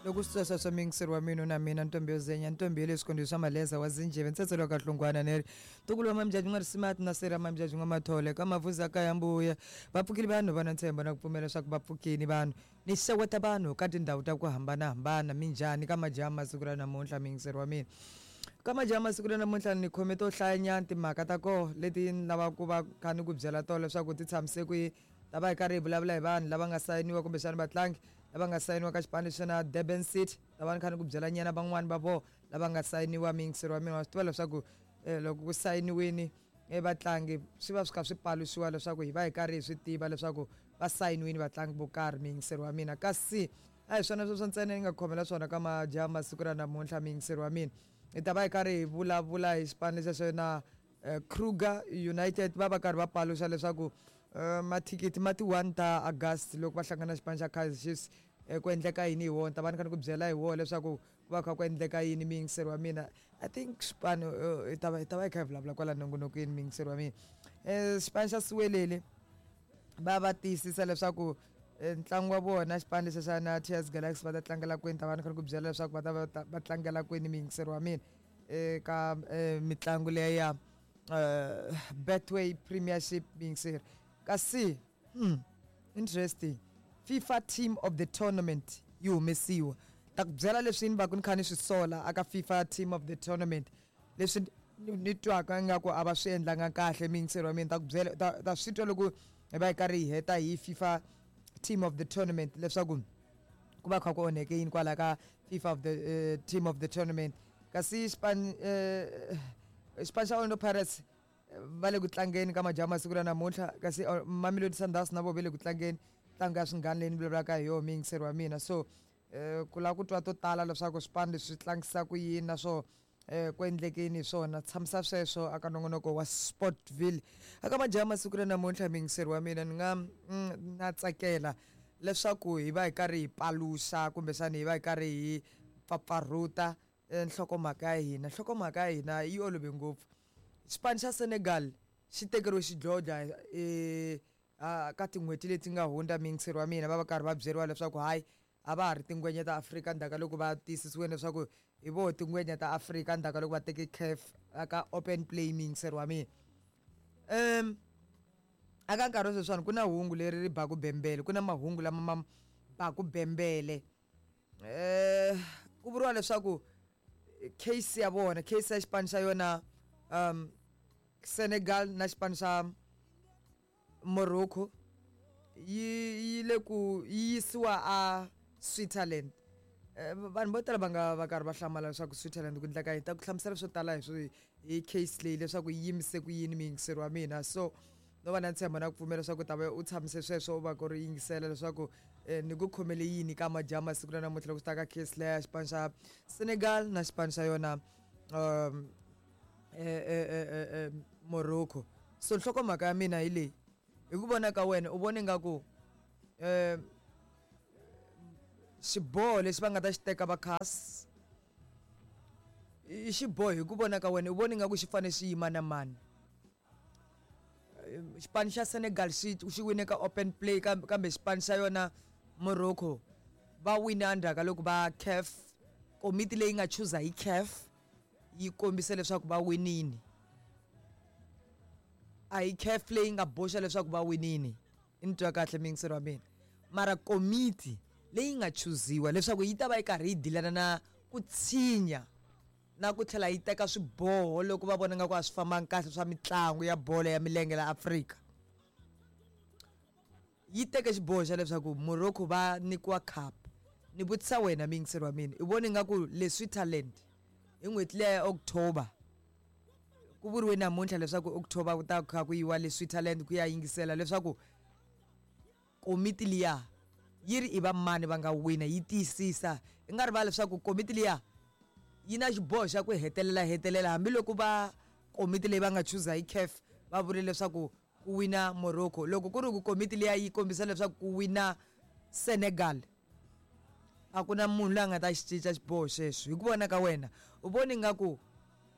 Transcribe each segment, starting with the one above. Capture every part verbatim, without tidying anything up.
Loko swi twa swa miyingiseri wa mina na mina ntombi yo zenya ntombi ya le swikondzo swa maleza wa zinjeve ntsetse loka hlungwana neri ntukulu wa mamjaji n'wa risimati na sera mamjaji n'wa mathole ka mavuza ka ya mbuya va pfukile vanhu va na ntshembo na ku pfumela leswaku va pfukini vanhu ni xeweta vanhu ka tindhawu ta ku hambanahambana minjhani ka majaha masiku ra namuntlha miyingiseri wa mina ka majaha masiku ra namuntlha ni khome to hlayanyana timhaka ta koho leti ni lavaka ku va kha ni ku byela tona leswaku ti tshamise ku yini ta va hi karhi hi vulavula hi vanhu lava nga sayiniwa kumbexana vatlangi lava nga sayiniwa ka xipano lexi na Durban City ta va ni kha ni ku byela nyana van'wani va vona lava nga sayiniwa miyingiseri wa mina wa swi tiva leswaku eh, loko ku sayiniwini eh, vatlangi swi va swi kha swi paluxiwa leswaku hi va hi karhi hi swi tiva leswaku va sayiniwini vatlangi vo karhi miyingiseri wa mina kasi a hi swona sweswo ntsena ni nga khomela swona ka majaha masiku ra namuntlha miyingiseri wa mina hi ta va hi karhi hi vulavula hi xipano lexi xo na eh, Kruger United va va karhi va paluxa leswaku eh, mathikithi ma ti one ta August loko va hlangana na xipano xa Kaizer Chiefs eh, ku endleka yini hi wona ta va ni kha ni ku byela hi wona leswaku ku va kha ku endleka yini miyingiseri wa mina I think xipano eh, hi ta va hi ta va hi kha hi vulavula kwala nongonokweni miyingiseri wa mina um xipano xa Siwelele va va tiyisisa leswaku eh, ntlangu wa vona xipano lexi xa na T S Galaxy va ta tlangela kwini ta va ni kha ni ku byela leswaku va ta va ta- va tlangela kwini miyingiseri wa mina eka eh, mitlangu leya ya eh, Betway Premiership miyingiseri kasi hmm, interesting FIFA Team of the Tournament yi humesiwa ta ku byela leswi ni va ku ni kha ni swi sola aka FIFA Team of the Tournament leswi ni ni twaka ingaku a va swi endlanga kahle miyingiseri wa mina ta ku byela ta ta swi twa loko hi va hi karhi hi heta hi FIFA Team of the Tournament leswaku ku va kha ku onheke yini kwala ka FIFA of the uh, Team of the Tournament kasi xipano eh, xipano xa Orlando Pirates eh, va le ku tlangeni ka majaha masiku ra namuntlha kasi uh, Mamelodi Sundowns na vo ve le ku tlangeni ntlangu ya swinghana leyi ni vulavulaka hi yona miyingiseri wa mina so eh, ku lava ku twa to tala leswaku swipano leswi swi tlangisa ku yini naswo eh, ku endlekeni hi swona tshamisa sweswo aka nongonoko wa Sportville aka majaha masiku ra namuntlha miyingiseri wa mina ni nga mm, na tsakela leswaku hi va hi karhi hi paluxa kumbexana hi va hi karhi hi pfapfarhuta eh, nhlokomhaka ya hina nhlokomhaka ya hina yi olove ngopfu xipano xa Senegal xi tekeriwe xidlodlo eh, ah, ka tin'hweti leti nga hundza miyingiseri wa mina va va karhi va byeriwa leswaku hayi a va ha ri tingwenya ta Afrika ndzhaku ka loko va tiyisisiwile leswaku hi voho tingwenya ta Afrika ndzhaku ka loko va teke CAF aka open play miyingiseri wa mina um aka nkarhi wa sweswiwani ku na hungu leri ri baku bembele ku na mahungu lama ma baku bembele eh ku vuriwa leswaku case ya vona case ya xipano xa yona um Senegal na xipano xa Morocco yi yi le ku yi yisiwa a Switzerland Eh, vanhu vo tala va nga va karhi va hlamala leswaku Switzerland ku endleka yini ta ku hlamusela swo tala hi swi hi case leyi leswaku yi yimise ku yini miyingiseri wa mina so no va na ntshembo na ku pfumela leswaku u ta va u tshamise sweswo u va ku ri yingisela leswaku eh, ni ku khomele yini ka majaha masiku na namuntlha loko swi ta ka case leya xipano xa Senegal na xipano xa yona um eh, eh, eh, eh, eh, Morocco so nhlokomhaka ya mina hi leyi hi ku vona ka wena u vone nga ku um xiboho lexi va nga ta xi teka va CAS i xiboho hi ku vona ka wena u vone nga ku xi fane xi yima na mani xipano xa Senegal xi xi wine ka open play kambe kambe xipano xa yona Morocco va wine endzhaku ka loko va CAF komiti leyi nga chuza hi CAF yi kombise leswaku va winini a hi CAF leyi nga boxa leswaku va winini i ni twa kahle miyingiseri wa mina mara komiti leyi nga chuziwa leswaku yi ta va yi karhi yi dilana na ku tshinya na ku tlhela yi teka swiboho loko va vona nga ku a swi fambangi kahle swa mitlangu ya bolo ya milenge la Afrika yi teke xiboho xa leswaku Morocco va nyikiwa cup ni vutisa wena miyingiseri wa mina i vone nga ku le Switzerland hi n'hweti liya ya October ku vuriwe namuntlha leswaku October ku ta kha ku yiwa le Switzerland ku ya yingisela leswaku komiti liya yi ri i va mani va nga wina yi tiyisisa i nga rivali leswaku komiti liya yi na xiboho xa ku hetelela hetelela hambiloko va komiti leyi va nga chuza hi CAF va vule leswaku ku wina Morocco loko ku ri ku komiti liya yi kombisa leswaku ku wina Senegal a ku na munhu loyi a nga ta xi cinca xiboho xexo hi ku vona ka wena u voni nga ku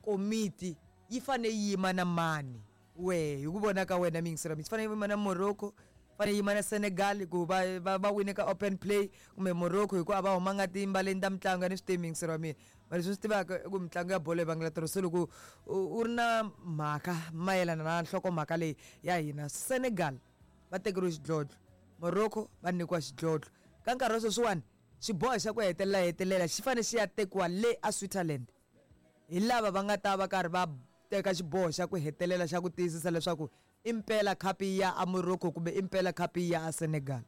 komiti yi fane yi yima na mani wehe hi ku vona ka wena miyingiseri mi yi fane yi yima na Morocco Fanele yima na Senegal ku va va va wine ka open play, kumbe Morocco hikuva va humanga timbaleni ta mitlangu ya ni swi tivi, muyingiseri wa mina. Mara leswi swi tivaka i ku mitlangu ya bolo yi vangela tiro. Se loko u ri na mhaka mayelana na nhlokomhaka leyi ya hina, Senegal va tekeriwe xidlodlo, Morocco va nyikiwa xidlodlo. Ka nkarhi wa sweswiwani, xiboho xa ku hetelela hetelela xi fanele xi ya tekiwa le a Switzerland hi lava va nga ta va karhi va teka xiboho xa ku hetelela xa ku tiyisisa leswaku i mpela khapu ya a Morocco kumbe i mpela khapu ya a Senegal.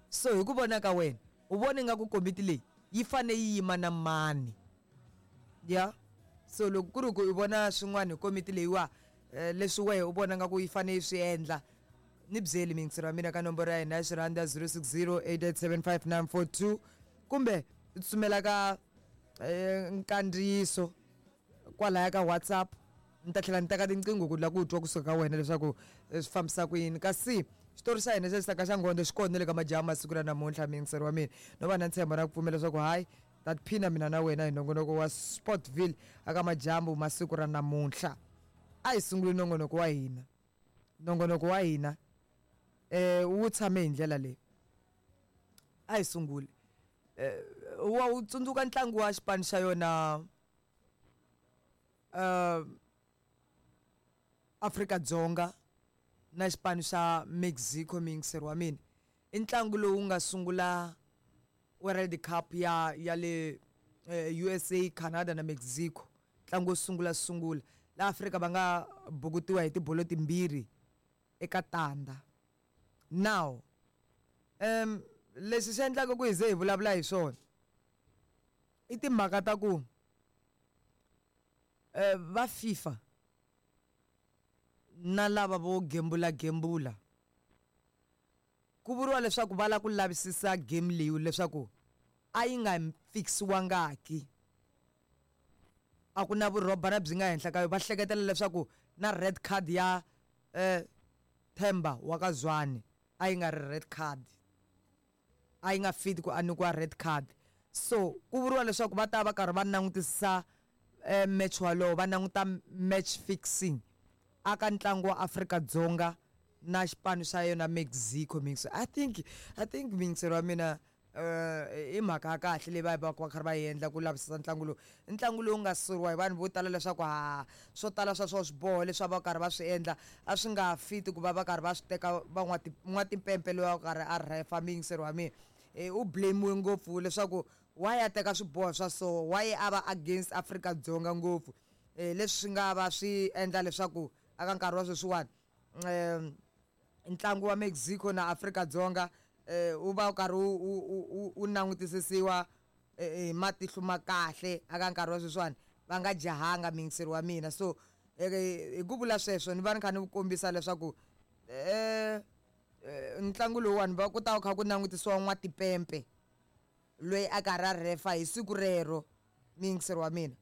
So hi ku vona ka wena, u vona ingaku komiti leyi yi fanele yi yima na mani? Ya, so loko ku ri ku i vona swin'wana hi komiti leyiwa, leswi wehe u vona nga ku yi fanele yi swi endla, ni byeli miyingiseri wa mina ka nomboro ya hina ya xirhanda zero six zero eight eight seven five nine four two, kumbe u tsutsumela ka nkandziyiso kwalaya ka WhatsApp. Ni ta tlhela ni teka tinqingho ku lava ku twa kusuka ka wena leswaku swi fambisa ku yini. Kasi xitori xa hina xa xisaka xa nghondo xi kona na le ka majaha masiku ra namuntlha, muyingiseri wa mina. No va na ntshembo na ku pfumela leswaku hayi, ta tiphina mina na wena hi nongonoko wa Sportville aka majambu masiku ra namuntlha. A hi sunguli nongonoko wa hina. Nongonoko wa hina eh wu tshame hi ndlela leyi. A hi sunguli. Eh wa wu tsundzuka ntlangu wa xipano xa yona uh Afrika-Dzonga na xipano xa Mexico, muyingiseri wa mina. I ntlangu lowu nga sungula World Cup ya ya le U S A, Canada na Mexico. Ntlangu wo sungula sungula la Afrika va nga bukutiwa hi tibolo timbirhi eka tanda. Now um leswi swi endlaka ku hi ze hi vulavula hi swona i timhaka ta ku eh va FIFA na lava vo gembula gembula ku vuriwa leswaku va lava ku lavisisa game leyi leswaku a yi nga fixiwangaki, a ku na vurhobana byi nga henhla ka yona. Va hleketela leswaku na red card ya eh Themba wa ka Zwane a yi nga ri red card, a yi nga fit ku a nyikiwa red card. So ku vuriwa leswaku va ta va karhi va langutisisa eh match walowo, va languta match fixing aka ntlangu wa Afrika-Dzonga na xipano xa yona Mexico. Mix I think I think muyingiseri wa mina eh i mhaka ya kahle leyi va va va karhi va yi endla ku lavisisa ntlangu lowu. I ntlangu lowu nga soriwa hi vanhu vo tala leswaku ha swo tala swa swo swiboho leswi a va karhi va swi endla a swi nga fiti ku va va karhi va swi teka van'watimpempe loyi a karhi a refa. Muyingiseri wa mina u blame-iwe ngopfu leswaku why a teka swiboho swa so, why a va against Afrika-Dzonga ngopfu, leswi swi nga va swi endla leswaku aka nkarhi wa sweswiwani um ntlangu wa Mexico na Afrika-Dzonga wu va wu karhi wu wu langutisisiwa hi matihlo ma kahle aka nkarhi wa sweswiwani, va nga jahanga muyingiseri wa mina. So hi ku vula sweswo ni va ni kha ni kombisa leswaku eh ntlangu lowuwani va ku ta kha ku langutisiwa n'watipempe loyi a karhi a refa hi siku rero, muyingiseri wa mina.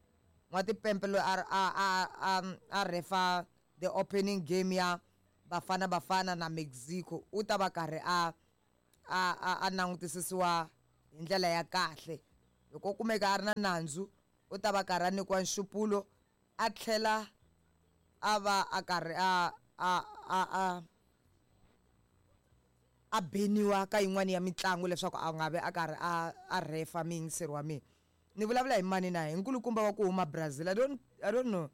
N'watipempe loyi a a a a refa the opening game ya Bafana Bafana na Mexico u ta va karhi a a a a langutisisiwa hi ndlela ya kahle. Loko kumeka a ri na nandzu u ta va karhi a nyikiwa nxupulo, a tlhela a va a karhi a a a a a beniwa ka yin'wani ya mitlangu leswaku a nga vi a karhi a a refa. Muyingiseri wa mina, ni vulavula hi mani na hi nkulukumba wa ku huma Brazil. I don't I don't know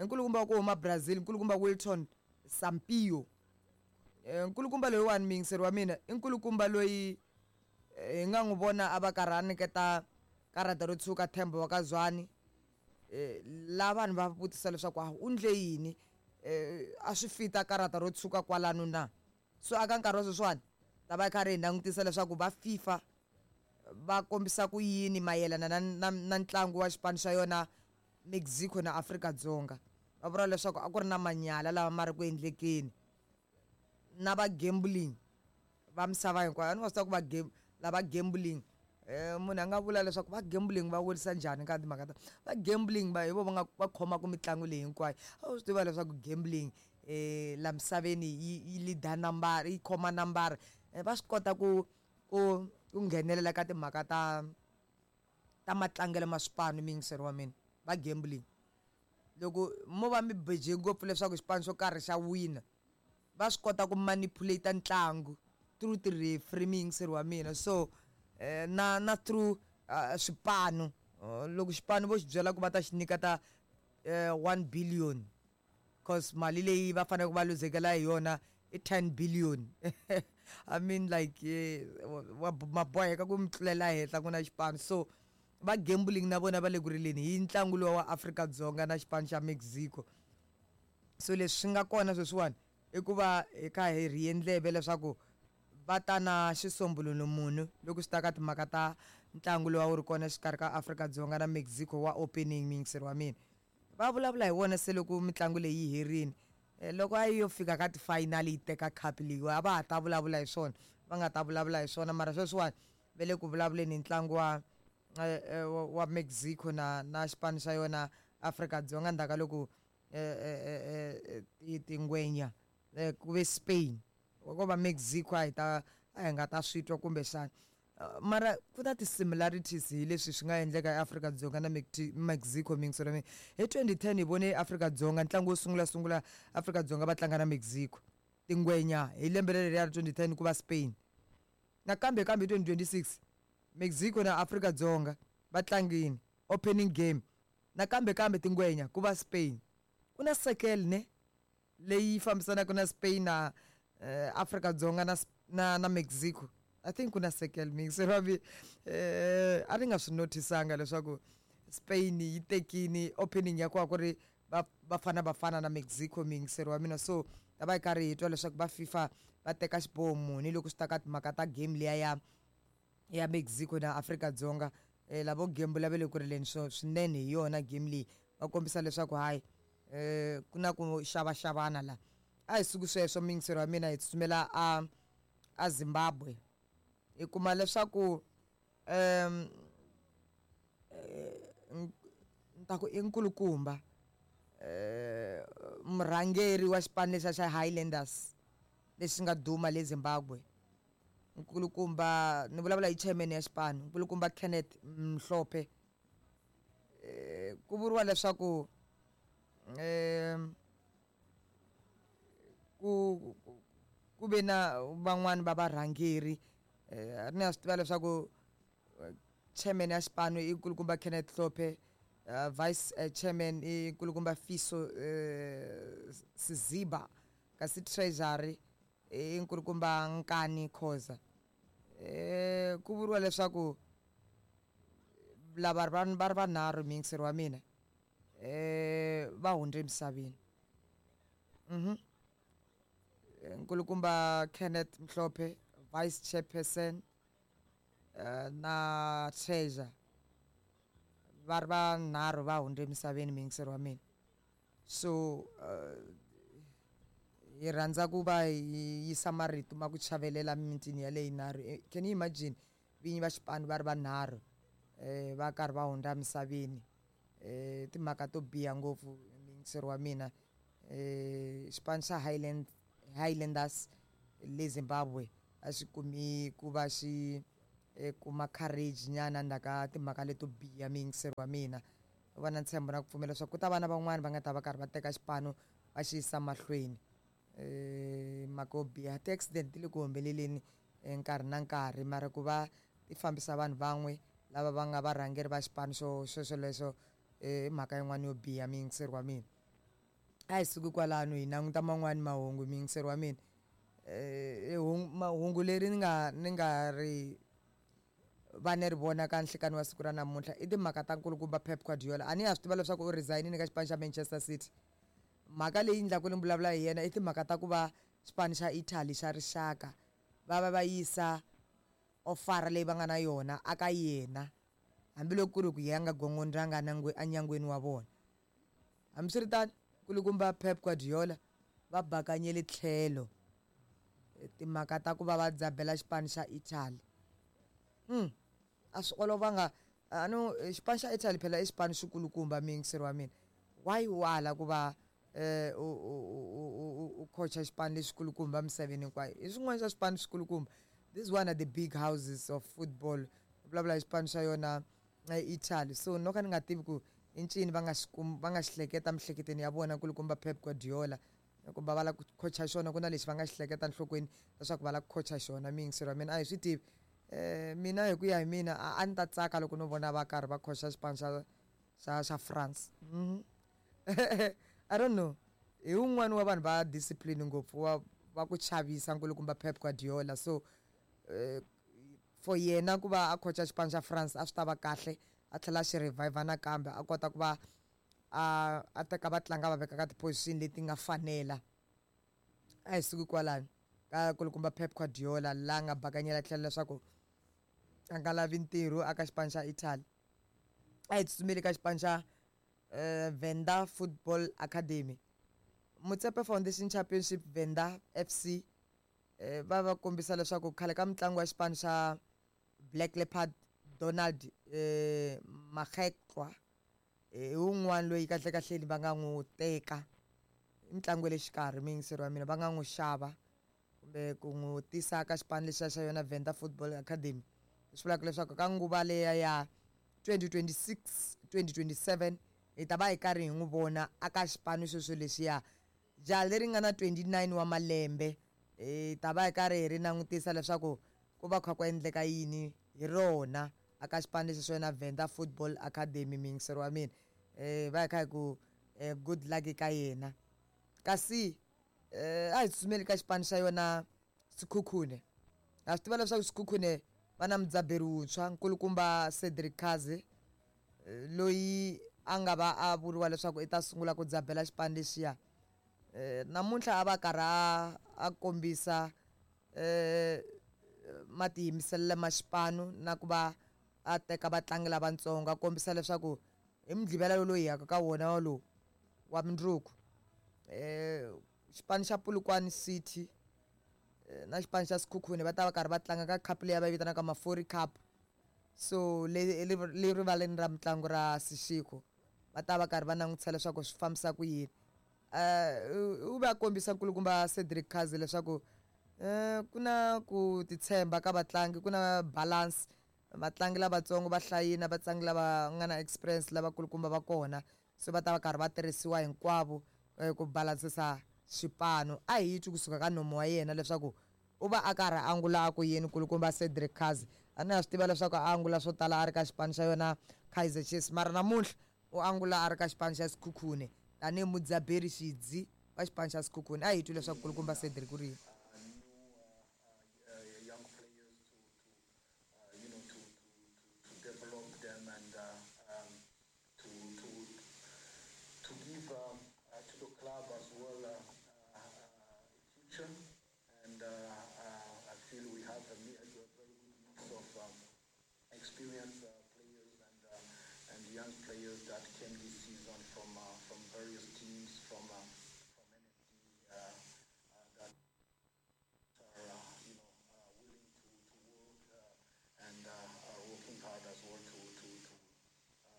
nkulukumba wa ku huma Brazil, nkulukumba Wilton Sampaio. Nkulukumba loyiwani muyingiseri wa mina i nkulukumba loyi hi nga n'wi vona a va karhi a nyiketa karata ro tshuka Themba wa ka Zwane. La vanhu va vutisa leswaku a u ndle yini, a swi fita karata ro tshuka kwalano na. So aka nkarhi wa sweswiwani ta va karhi hi langutisa leswaku va FIFA va kombisa ku yini mayelana na na na ntlangu wa xipano xa yona Mexico na Afrika-Dzonga. Va vula leswaku a ku ri na manyala lama ma ri ku endlekeni na va gambling va misava hinkwayo. A ni nga swi tiva ku va lava gambling eh munhu a nga vula leswaku va gambling va vurisa njhani ka timhaka ta va gambling va hi vo va nga va khomaka mitlangu leyi hinkwayo. A wu swi tiva leswaku gambling eh la misaveni yi yi leader number, yi khoma nambara, va swi kota ku ku ku nghenelela ka timhaka ta ta matlangelo ma swipano. Muyingiseri wa mina, va gambling loko mo va mi beje ngopfu leswaku xipano xo karhi xa wina, va swi kota ku manipulate ntlangu through ti-referee muyingiseri wa mina. So eh, na na through uh, swipanu, uh, loko xipano vo xi byela ku va ta xi nyika ta uh, one billion, cause mali leyi va faneleke va luzekela hi yona i ten billion. I mean like eh, wa ma boheka ku mi tlulela henhla ku na xipano. So va gambling na vona va le ku rileni hi ntlangu lowa wa Afrika-Dzonga na xipano xa Mexico. So leswi swi nga kona sweswiwani i ku va hi kha hi rhiye ndleve leswaku va ta na xisombululo munhu loko swi ta ka timhaka ta ntlangu lowu a wu ri kona exikarhi ka Afrika-Dzonga na Mexico wa opening, muyingiseri wa mina. Va vulavula hi wona se loko mitlangu leyi yi herini. Eh, loko a yi yo fika ka ti-final yi teka cup leyi a va ha ta vulavula hi swona, va nga ta vulavula hi swona. Mara sweswiwani va le ku vulavuleni hi ntlangu wa eh, eh, wa wa Mexico na na xipano xa yona Afrika-Dzonga ndzhaku ka loko eh, eh, eh, eh, ti tingwenya eh, ku ve Spain ko va Mexico a hi ta a hi nga ta swi twa kumbexana. Uh, mara ku na ti-similarities hi leswi swi nga endleka eAfrika-Dzonga na Mexico, muyingiseri wa mina. Hi twenty ten hi vone Afrika-Dzonga ntlangu wo sungula sungula Afrika-Dzonga va tlanga na Mexico, tingwenya hi lembe leriya ra twenty ten ku va Spain. Nakambe kambe hi twenty twenty six Mexico na Afrika-Dzonga va tlangini opening game, nakambe kambe tingwenya ku va Spain. Ku na circle ne leyi fambisanaka na Spain na eh, Afrika-Dzonga na, na na Mexico. I think ku na circle, muyingiseri wa mina. Eh a ni nga swi notisanga leswaku Spain yi tekini opening ya kona ku ri va Bafana Bafana na Mexico, muyingiseri wa mina. So ta va hi karhi hi twa leswaku va FIFA va teka xiboho muni loko swi ta ka timhaka ta game liya ya ya Mexico na Afrika-Dzonga. Eh lavo gembula va le ku rileni swo swinene hi yona game leyi, va kombisa leswaku hayi eh ku na ku xavaxavana la. A hi suki sweswo, muyingiseri wa mina, hi tsutsumela a a Zimbabwe. Hi kuma leswaku um ni ta ku i nkulukumba eh murhangeri wa xipano lexiya xa Highlanders lexi nga duma le Zimbabwe, nkulukumba ni vulavula hi chairman ya xipano, nkulukumba Kenneth Mhlophe. Eh ku vuriwa leswaku um ku ku ve na van'wani va varhangeri. Eh ni ya swi tiva leswaku chairman ya xipano i nkulukumba Kenneth Hlophe, uh, vice uh, chairman i nkulukumba Fiso uh, Siziba, kasi treasury i nkulukumba Nkani Khoza. Eh ku vuriwa leswaku lava va va ri vanharhu, muyingiseri wa mina, eh va hundze emisaveni. Mhm nkulukumba Kenneth Mhlophe, vice chairperson, uh, na treasurer, va ri vanharhu va hundze emisaveni, muyingiseri wa mina. So uh, hi rhandza ku va hi yisa marito ma ku chavelela mimitini yaleyi yinharhu. Can you imagine vinyi va xipano va ri vanharhu eh va karhi va hundza emisaveni? Eh timhaka to biha ngopfu, muyingiseri wa mina. Eh xipano xa Highland Highlanders le Zimbabwe a xi kumi ku va xi eh, kuma courage nyana ndzhaku ka timhaka leto biha, muyingiseri wa mina. Va na ntshembo na ku pfumela leswaku ku ta va na van'wani va nga ta va karhi va teka xipano va xi yisa mahlweni. Eh mhaka yo biha, ti-accident ti le ku humeleleni nkarhi na nkarhi, mara ku va ti fambisa vanhu van'we lava va nga varhangeri va xipano xo xo xolexo i mhaka yin'wana yo biha, muyingiseri wa mina. A hi suki kwalano hi languta man'wani mahungu, muyingiseri wa mina. Eh mahungu leri ni nga ni nga ri va ni ri vona ka nhlikani wa siku ra namuntlha i timhaka ta nkulukumba Pep Guardiola. A ni ha swi tiva leswaku u resign-ini ka xipano xa Manchester City. Mhaka leyi endlaka ni vulavula hi yena i timhaka ta ku va xipano xa Italy xa rixaka va va va yisa ofara leyi va nga na yona aka yena, hambiloko ku ri ku yena a nga gongondzanga enyangweni wa vona. Hambiswiritano, nkulukumba Pep Guardiola va bakanyele tlhelo timhaka ta ku va va dzabela xipano xa Italy. Hmm a swi olovanga. A no xipano xa Italy phela i xipano xikulukumba, muyingiseri wa mina. Why u ala ku va eh u u u u coacha xipano lexikulukumba emisaveni hinkwayo? I swin'wana swa swipano swikulukumba. This is one of the big houses of football. Vulavula hi xipano xa yona Italy. So no ka ni nga tivi ku i ncini va nga xi va nga xi hleketa emiehleketweni ya vona nkulukumba Pep Guardiola. Kumbe va lava ku khocha xona ku na lexi va nga xi hleketa enhlokweni leswaku va lava ku khocha xona miyingiseri wa mina a hi swi tivi. um Mina hi ku ya hi mina a ni ta tsaka loko no vona va karhi va khocha xipano xa xa xa France. I don't know. Hi wun'wani wa vanhu va discipline ngopfu wa va ku chavisa nkulukumba Pep Guardiola. So uh, for yena ku va a khocha xipano xa France a swi ta va kahle, a tlhela a xi revive nakambe a kota ku va a a teka vatlanga va veka ka ti-position leti nga fanela. A hi suki kwalano ka kulukumba Pep Guardiola la nga bakanyela tlhelo leswaku a nga lavi ntirho aka xipano xa Italy. A hi tsutsumeli ka xipano xa uh, Venda Football Academy. Motsepe Foundation Championship Venda F C eh, va va kombisa leswaku khale ka mutlangi wa xipano xa Black Leopard Donald eh, Magetlwa hi wun'wana loyi kahle kahleni va nga n'wi teka i mitlangu ya le xikarhi miyingiseri wa mina va nga n'wi xava kumbe ku n'wi tisa ka xipano lexiya xa yona Venda Football Academy. Leswi vulaka leswaku ka nguva leya ya twenty twenty-six twenty twenty-seven hi ta va hi karhi hi n'wi vona aka xipano xexo lexiya. Jaha leri nga na twenty-nine wa malembe hi ta va hi karhi hi ri langutisa leswaku ku va kha ku endleka yini hi rona aka xipano lexi xa yona Venda Football Academy miyingiseri wa mina. Eh va hi kha hi ku good luck ka yena. Kasi eh a hi tsutsumeli ka xipano xa yona Sekhukhune. Ha swi tiva leswaku Sekhukhune va na mudzaberi wuntshwa nkulukumba Cedric Kaze loyi a nga va a vuriwa leswaku i ta sungula ku dzabela xipano lexiya. Eh namuntlha a va karhi a kombisa eh matiyimiselelo ma xipano na ku va a teka vatlangi lavatsongo a kombisa leswaku hi mugqivela lowu hi yaka ka wona walowu wa mundzuku eh xipano xa Polokwane City na xipano xa Sekhukhune va ta va karhi va tlanga ka cup leyi va yi vitanaka Mafori Cup. So le le rivaleni ra mitlangu ra Seshego va ta va karhi va langutisa leswaku swi fambisa ku yini. Eh u va kombisa nkulukumba Cedric Kaze leswaku eh ku na ku titshemba ka vatlangi, ku na balance, vatlangi lavatsongo va hlayini, vatlangi lava nga na experience lavakulukumba va kona, so va ta va karhi va tirhisiwa hinkwavo ku balansisa xipano. A hi twi kusuka ka nomu wa yena leswaku u va a karhi a angula a ku yini nkulukumba Cedric Kaze. A ni ha swi tiva leswaku a angula swo tala a ri ka xipano xa yona Kaizer Chiefs, mara namuntlha u angula a ri ka xipano xa Sekhukhune tanihi mudzaberi xidzi wa xipano xa Sekhukhune. A hi twi leswaku nkulukumba Cedric u ri yini. Experienced uh, players and uh, and young players that came this season from uh, from various teams from uh, from N F D uh, uh, that are uh, you know uh, willing to to work uh, and uh, are working hard as well to to to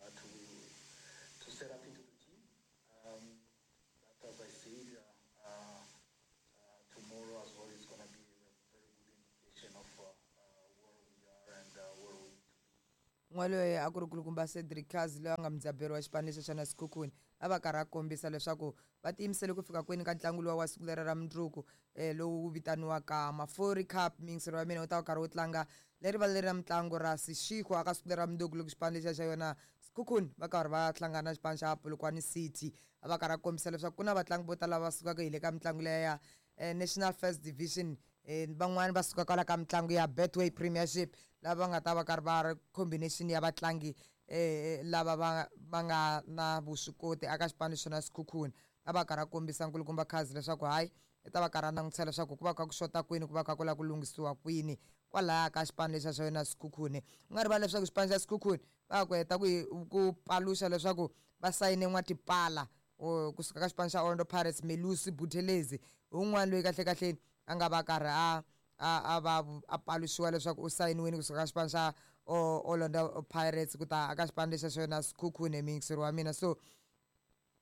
uh, to to set up into the team. Um, but as I said, uh, uh, uh, tomorrow as well is going to be a very good indication of uh, uh, where we are and uh, where we. N'waloye a ku ri nkulukumba Cedric Kaze loyi a nga mudzaberi wa xipano lexi xa na Sekhukhune a va karhi a kombisa leswaku va tiyimisele ku fika kwini ka ntlangu luwa wa siku leri ra mundzuku eh, lowu vitaniwaka Mafori Cup. Miyingiseri wa mina u ta va karhi wu tlanga leri va leri ra mitlangu ra Seshego aka siku leri ra mundzuku loko xipano lexiya xa yona Sekhukhune va karhi va hlangana na xipano xa Polokwane City. A va karhi a kombisa leswaku ku na vatlangi vo tala va sukaka hi le ka mitlangu leya ya eh, National First Division, eh, van'wani va suka kwala ka mitlangu ya Betway Premiership lava nga ta va karhi va ri combination ya vatlangi eh, lava va va nga na vuswikoti aka xipano xona Sekhukhune. A va karhi a kombisa nkulukumba Kaze leswaku hayi i ta va karhi a langutisa leswaku ku va kha ku xota kwini, ku va kha ku lava ku lunghisiwa kwini kwalaya ka xipano lexiya xa yona Sekhukhune. U nga rivali leswaku xipano xa Sekhukhune va ku heta ku ku paluxa leswaku va sayine N'watipala kusuka ka xipano xa Orlando Pirates, Melusi Buthelezi hi wun'wana loyi kahle kahleni a nga va karhi a a a va a paluxiwa leswaku u sayiniwile kusuka ka xipano xa Orlando Pirates ku ta aka xipano lexiya xa yona Sekhukhune miyingiseri wa mina. So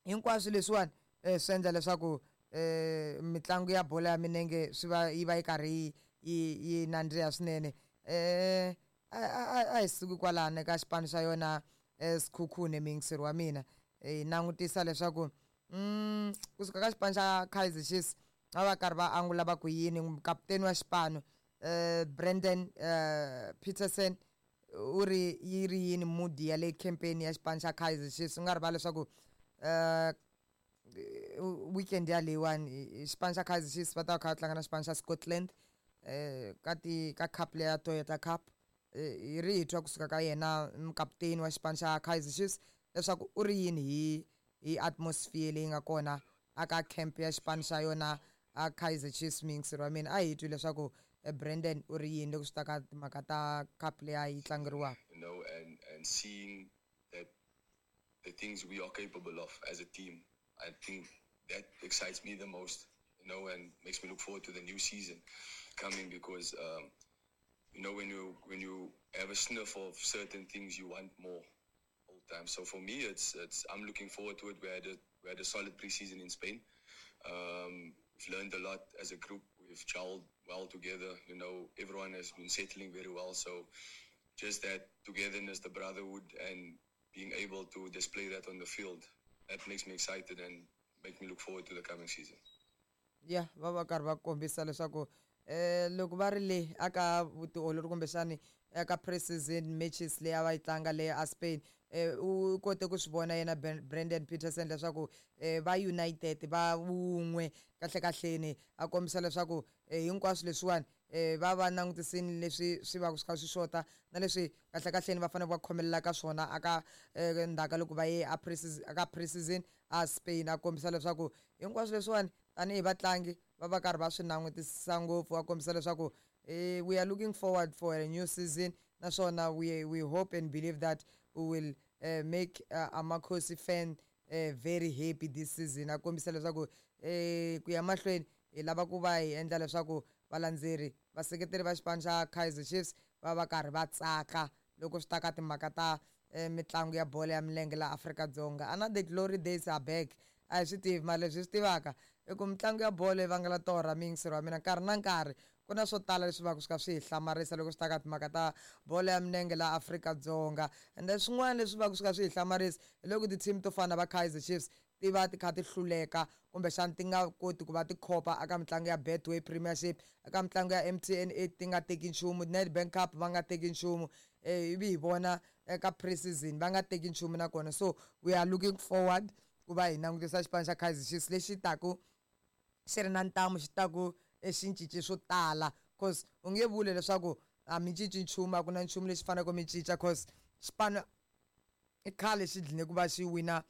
hinkwaswo leswiwani eh, swi endla leswaku eh, mitlangu ya bolo ya milenge swi va yi va yi karhi yi yi nandziha swinene. Eh a a hi suki kwalano ka xipano xa yona Sekhukhune miyingiseri wa mina, hi langutisa leswaku Mm kusuka ka xipano xa Kaizer Chiefs va va karhi va angula va ku yini kaputeni wa xipano eh Brandon eh Petersen u ri yi ri yini mood ya le campaign ya xipano xa Kaizer Chiefs u nga rivali leswaku eh weekend ya leyiwani xipano xa Kaizer Chiefs va ta va kha va tlanga na xipano xa Scotland eh ka ti ka cup leya Toyota Cup. Hi ri hi twa kusuka ka yena mukaputeni wa xipano xa Kaizer Chiefs leswaku u ri yini hi hi atmosphere leyi nga kona aka camp ya xipano xa yona a Kaizer Chiefs. Muyingiseri wa mina, a hi twi leswaku Brandon u ri yini loko swi ta ka timhaka ta cup leyi a yi tlangeriwaka. you know, and, and seeing that the things we are capable of as a team, I think that excites me the most, you know, and makes me look forward to the new season coming because, um, you know, when you when you have a sniff of certain things, you want more all the time. So for me, it's it's I'm looking forward to it. We had a we had a solid preseason in Spain. Um, we've learned a lot as a group. We've gelled well together. You know, everyone has been settling very well. So just that togetherness, the brotherhood, and being able to display that on the field, that makes me excited and make me look forward to the coming season. Ya, va va karhi va kombisa leswaku eh loko va ri le aka vutiolori kumbexani eka pre-season matches leyi a va yi tlanga le a Spain, eh u kote ku swi vona yena Brandon Petersen leswaku eh va united, va wun'we kahle kahleni. A kombisa leswaku hinkwaswo leswiwani eh va va langutisini leswi swi va swi kha swi xota na leswi kahle kahleni va fanele va khomelela ka swona aka ndzhaku ka loko va ye a pre-season aka pre-season a Spain. A kombisa leswaku hinkwaswo leswiwani tanihi vatlangi va va karhi va swi langutisisa ngopfu. A kombisa leswaku eh we are looking forward for a new season, naswona we we hope and believe that we will uh, make uh, Amakhosi fan uh, very happy this season. A kombisa leswaku eh ku ya mahlweni hi lava ku va hi endla leswaku valandzeri, vaseketeri va xipano xa Kaizer Chiefs va va karhi va tsaka loko swi ta ka timhaka ta mitlangu ya bolo ya milenge laha Afrika-Dzonga. Ana the glory days are back, a hi swi tivi, mara leswi hi swi tivaka i ku mitlangu ya bolo yi vangela torha. Muyingiseri wa mina, nkarhi na nkarhi ku na swo tala leswi va ku swi kha swi hi hlamarisa loko swi ta ka timhaka ta bolo ya milenge laha Afrika-Dzonga. Ende swin'wana leswi va ku swi kha swi hi hlamarisa hi loko ti-team to fana na va Kaizer Chiefs ti va ti kha ti hluleka kumbexana ti nga koti ku va ti khopa eka mitlangu ya Betway Premiership, eka mitlangu ya M T N eight ti nga teki nchumu, Nedbank Cup va nga teki nchumu, ivi hi vona eka pre-season va nga teki nchumu nakona. So we are looking forward ku va hi langutisa xipano xa Kaizer Chiefs lexi taku xi ri na ntamu, xi taku xi cince swo tala, cause u nge vuli leswaku a mi cinci nchumu, a ku na nchumu lexi faneleke mi cinca, cause xipano i khale xi dline ku va xi wina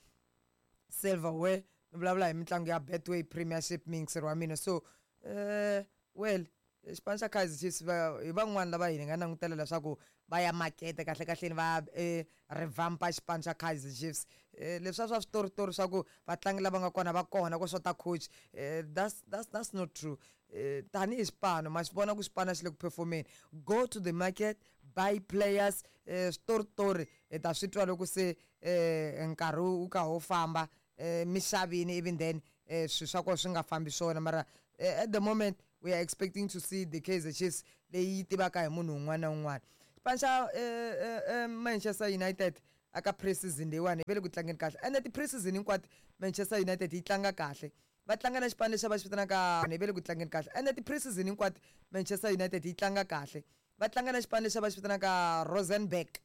silverware. Ni vulavula hi mitlangu ya Betway Premiership, muyingiseri wa mina. So eh well, xipano xa Kaizer Chiefs va hi van'wani lava hi nga langutela leswaku va ya makete kahle kahleni va eh, revampa xipano xa Kaizer Chiefs. eh, leswiya swa switoritori swa ku vatlangi lava nga kona va kona ku xota coach, eh, that's, that's, that's not true. eh, tanihi xipano ma xi vona ku xipano xi le ku performeni, go to the market, buy players. eh, switoritori hi ta swi twa loko se eh, nkarhi wu ka wu famba, eh, misavini, even then eh, swilo swa kona swi nga fambi swona. Mara eh, at the moment we are expecting to see the Kaizer Chiefs leyi yi tivaka hi munhu un'wana na un'wana. Xipano xa eh, eh, eh, Manchester United aka pre-season leyiwani va le ku tlangeni kahle, ende ti-pre-season hinkwato Manchester United yi tlanga kahle. Va tlanga na xipano lexi va xi vitanaka, va le ku tlangeni kahle, ende ti-pre-season hinkwato Manchester United yi tlanga kahle. Va tlanga na xipano lexi va xi vitanaka Rosenborg.